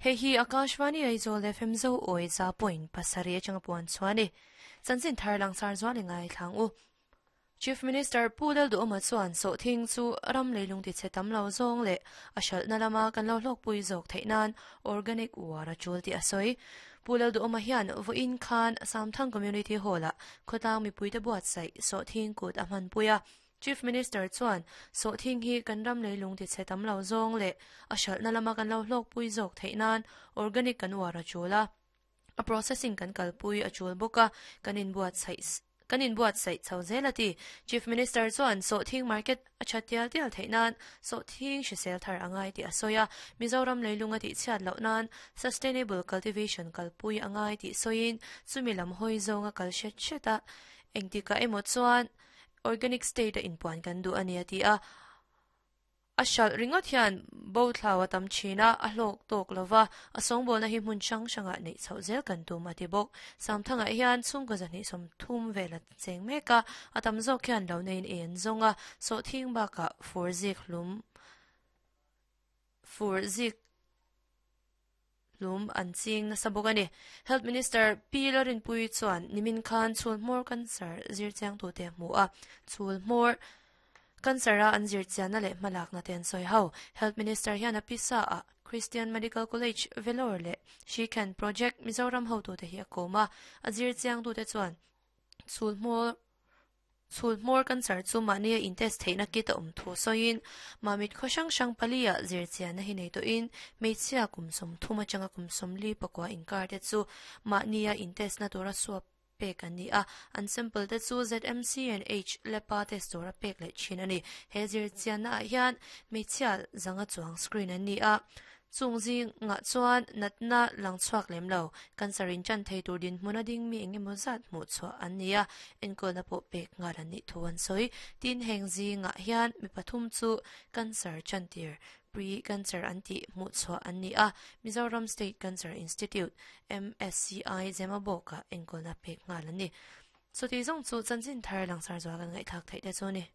Hei hi Akashvani Aizawl FM Zo Awi za point pasarih atanga puan chhuah a ni. Chanchin thar langsar zual i ngaithlang u. Chief Minister Pu Lalduhawma chuan sawhthing chu ram leilung tichhe tam lo zawng leh a hralhna lama kan lo hlawkpui zawk theih nan organic uar a tul tih a sawi. Pu Lalduhawma hian vawiin khan Samthang Community Hall-ah khawtlang mipuite buatsaih sawhthing kut a hmanpui a. Chief Minister chuan sawhthing hi kan ram leilung tichhe tam lo zawng leh a hralhna lama kan lo hlawkpui zawk theih nan organic kan uar a tul a. A processing kan kalpui a tul bawk a, kan inbuatsaih kan inbuatsaih chho zel a ti. Chief Minister chuan sawhthing market a tha tial tial theih nan sawhthing hrisel thar a ngai tih a sawi a, Mizoram leilung a tihchhiat loh nan sustainable cultivation kalpui a ngai tih sawiin chumi lam hawi zawnga kal hret hret a, engtikah emaw chuan organic state a inpuan kan duh a ni a ti a. A hralh ringawt hian bo thlau a tam thin a, a hlawk tawk lo va, a sawngbawlna hi hmun hrang hrangah neih chhoh zel kan tum a ti bawk. Samthangah hian chhungkaw 230 vel a cheng mek a, a tam zawk hian lo neiin ei an zawng a, sawhthing bakah fur zik hlum fur zik hlum an ching nasa bawk a ni. Health Minister Pi Larinpuii chuan nimin khan chhul hmawr cancer zir chiangtute a hmu a, chhul hmawr cancer a an zir chianna leh hmalakna te an sawi ho. Health Minister hian a pisa ah Christian Medical College, Vellore leh Shikhan Project, Mizoram hotute hi a kawm a, a zir chiangtute chuan chhul hmawr Chhul hmawr cancer chu mahnia in test theihna kit a awm thu sawiin, Mamit khaw hrang hrang pali-ah zirchianna hi nei tawhin hmeichhia kum 30 atanga kum 44 inkar te chu mahnia in test na tura swab pek an ni a, an sample te chu ZMC and H lab-a test tura pek leh thin a ni. He zirchianna ah hian hmeichhia zanga chuang screen an ni a, Chung zingah chuan natna lang chhuak lem lo, cancer in chan thei tur dinhmun a ding mi eng emaw zat hmuh chhuah an ni a, enkawlna pawh pek nghal an nih thu an sawi. Tin, heng zingah hian mi pathum chu cancer chantir, pre-cancer an tih hmuh chhuah an ni a, Mizoram State Cancer Institute, MSCI, Zemabawkah enkawlna pek nghal an ni. Chuti zawng chu chanchin thar langsar zual kan ngaihthlak theih te chu a ni.